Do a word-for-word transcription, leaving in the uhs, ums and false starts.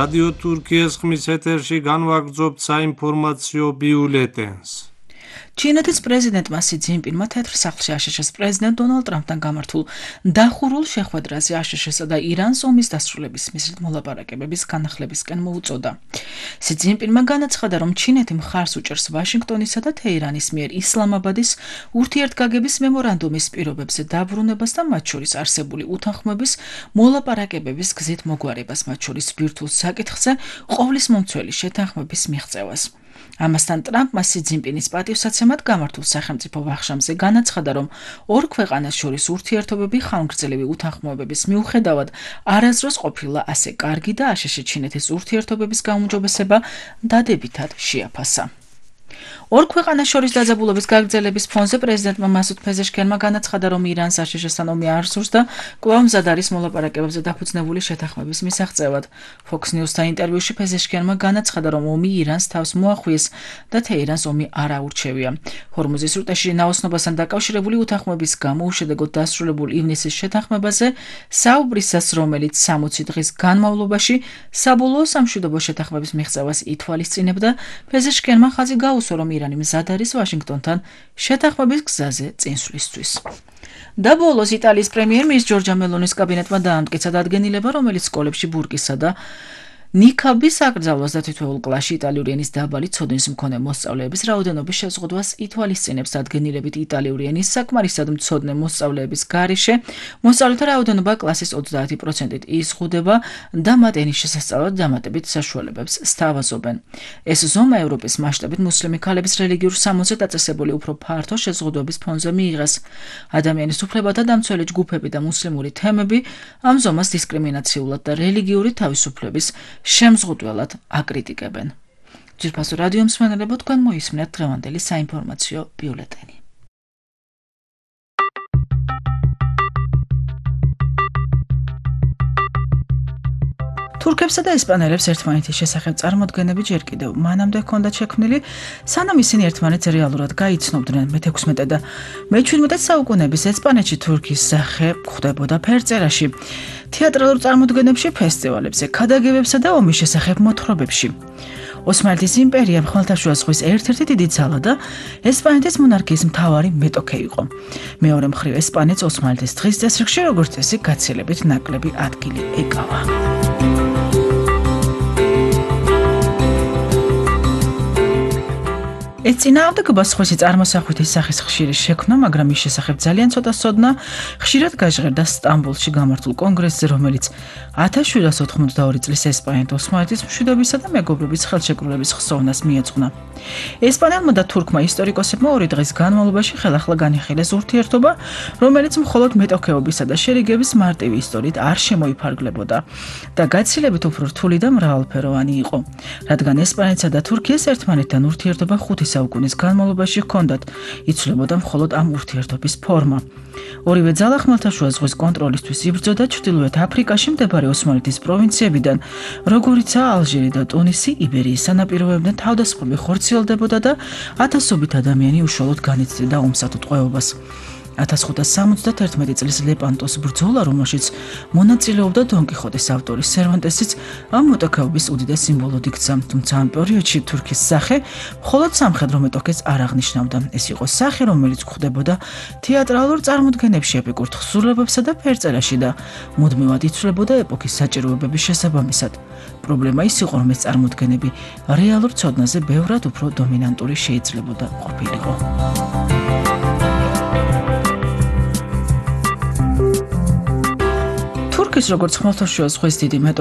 რადიო თურქიის ხმის ეთერში განვაგრძობთ საინფორმაციო ბიულეტენს. ჩინეთის პრეზიდენტმა სი ძინპინმა თეთრ სახლში აშშ-ს პრეზიდენტ დონალდ ტრამპთან გამართულ დახურულ შეხვედრაზე აშშ-სა და ირანს ომის დასრულების მიზნით მოლაპარაკებების განახლებისკენ მოუწოდა. სი ძინპინმა განაცხადა, რომ ჩინეთი მხარს უჭერს ვაშინგტონისა და თეირანის მიერ ისლამაბადის ურთიერთგაგების მემორანდუმის პირობებზე დაბრუნებას და მათ შორის არსებული უთანხმოების მოლაპარაკებების გზით მოგვარებას, მათ შორის ბირთვულ საკითხზე ყოვლის მომცველი შეთანხმების მიღწევას. ამასთან ტრამპმა სი ძინპინის პატივსაცემად გამართულ სახელმწიფო ვახშამზე განაცხადა, რომ ორ ქვეყანას შორის ურთიერთობები ხანგრძლივი უთანხმოებების მიუხედავად არასდროს ყოფილა ასე კარგი და აშშ-ჩინეთის ურთიერთობების გაუმჯობესება დადებითად შეაფასა. ორ ქვეყანას შორის დაძაბულობის გაგრძელების ფონზე პრეზიდენტმა მასუდ ფეზეშკიანმა განაცხადა, რომ ირანს აშშ-სთან ომი არ სურს და კვლავ მზად არის მოლაპარაკებებზე დაფუძნებული შეთანხმების მისაღწევად. Fox News-თან ინტერვიუში ფეზეშკიანმა განაცხადა, რომ ომი ირანს თავს მოახვიეს და თეირანს ომი არ აურჩევია. ჰორმუზის სრუტეში ნაოსნობასთან დაკავშირებული უთანხმოების გამო უშედეგოდ დასრულებულ ივნისის შეთანხმებაზე საუბრისას, რომელიც სამოცი დღის განმავლობაში საბოლოო სამშვიდობო შეთანხმების მიღწევას ითვალისწინებდა, ფეზეშკიანმა ხაზი გაუსვა, რომ ირანი მზად არის ვაშინგტონთან შეთანხმების გზაზე წინსვლისთვის. და ბოლოს იტალიის პრემიერ-მინისტრ ჯორჯა მელონის კაბინეტმა დაამტკიცა დადგენილება, რომელიც სკოლებში ბურგისა და ნიქაბის აკრძალვას და თითოეულ კლასში იტალიური ენის დაბალი ცოდნის მქონე მოსწავლეების რაოდენობის შეზღუდვას ითვალისწინებს. დადგენილებით იტალიური ენის საკმარისად მცოდნე მოსწავლეების გარეშე მოსწავლეთა რაოდენობა კლასის ოცდაათი პროცენტით იზღუდება და მათ ენის შესასწავლად დამატებით საშუალებებს სთავაზობენ. ეს ზომა ევროპის მასშტაბით მუსლიმი ქალების რელიგიურ სამოსზე დაწესებული უფრო ფართო შეზღუდვების ფონზე მიიღეს. ადამიანის უფლებათა დამცველი ჯგუფები და მუსლიმური თემები ამ ზომას დისკრიმინაციულად და რელიგიური თავისუფლების შემზღუდველად აკრიტიკებენ. ძვირფასო რადიო მსმენელებო, თქვენ მოისმინეთ დღევანდელი საინფორმაციო ბიულეტენი. თურქებსა და ესპანელებს ერთმანეთის შესახებ წარმოდგენები ჯერ კიდევ მანამდე ჰქონდათ შექმნილი, სანამ ისინი ერთმანეთს რეალურად გაიცნობდნენ. მეთექვსმეტე და მეჩვიდმეტე საუკუნეების ესპანეთში თურქის სახე გვხვდებოდა ფერწერაში, თეატრალურ წარმოდგენებში, ფესტივალებზე, ქადაგებებსა და ომის შესახებ მოთხრობებში. ოსმალეთის იმპერიამ ხმელთაშუა ზღვის ერთ-ერთი დიდი ძალა და ესპანეთის მონარქიის მთავარი მეტოქე იყო. მეორე მხრივ ესპანეთს ოსმალეთის დღის წესრიგში როგორც წესი გაცილებით ნაკლები ადგილი ეკავა. ეს წინააღმდეგობა სხვისი წარმოსახვითი სახის ხშირი შექმნა, მაგრამ ის შესახებ ძალიან ცოტა ცოდნა ხშირად გაჟღერდა სტამბოლში გამართულ კონგრესზე, რომელიც ათას შვიდსათ ოთხმოცდაორი წლის ესპანეთ-ოსმალეთის მშვიდობისა და მეგობრობის ხელშეკრულების ხსოვნას მიეძღვნა. ესპანელმა და თურქმა ისტორიკოსებმა ორი დღის განმავლობაში ხელახლა განიხილეს ურთიერთობა, რომელიც მხოლოდ მეტოქეობისა და შერიგების მარტივი ისტორიით არ შემოიფარგლებოდა და გაცილებით უფრო რთული და მრავალფეროვანი იყო, რადგან ესპანეთსა და თურქიას ერთმანეთთან ურთიერთობა ხუთი საუკუნის განმავლობაში ჰქონდათ, იცვლებოდა მხოლოდ ამ ურთიერთობის ფორმა. ორივე ძალა ხმელთაშუა ზღვის კონტროლისთვის იბრძოდა ჩრდილოეთ აფრიკაში მდებარე ოსმალეთის პროვინციებიდან, როგორიცაა ალჟირი და ტუნისი, იბერიის სანაპიროებიდან თავდასხმები ხორციელდებოდა და ათასობით ადამიანი უშუალოდ განიცდიდა ომსათუთყვეობას. ათას ხუთას სამოცდათერთმეტი წლის ლეპანტოს ბრძოლა, რომელშიც მონაწილეობდა დონ კიხოტის ავტორი სერვანტესიც, ამ მეტოქეობის უდიდეს სიმბოლოდ იქცა, თუმცა ამ პერიოდში თურქის სახე მხოლოდ სამხედრო მეტოქეს არ აღნიშნავდა. ეს იყო სახე, რომელიც გვხვდებოდა თეატრალურ წარმოდგენებში, ეპიკურ თხზულებებსა და ფერწერაში და მუდმივად იცვლებოდა ეპოქის საჭიროებების შესაბამისად. პრობლემა ის იყო, რომ ეს წარმოდგენები რეალურ ცოდნაზე ბევრად უფრო დომინანტური შეიძლებოდა ყოფილიყო. თურქის როგორც ხმელთაშუა ზღვის დიდი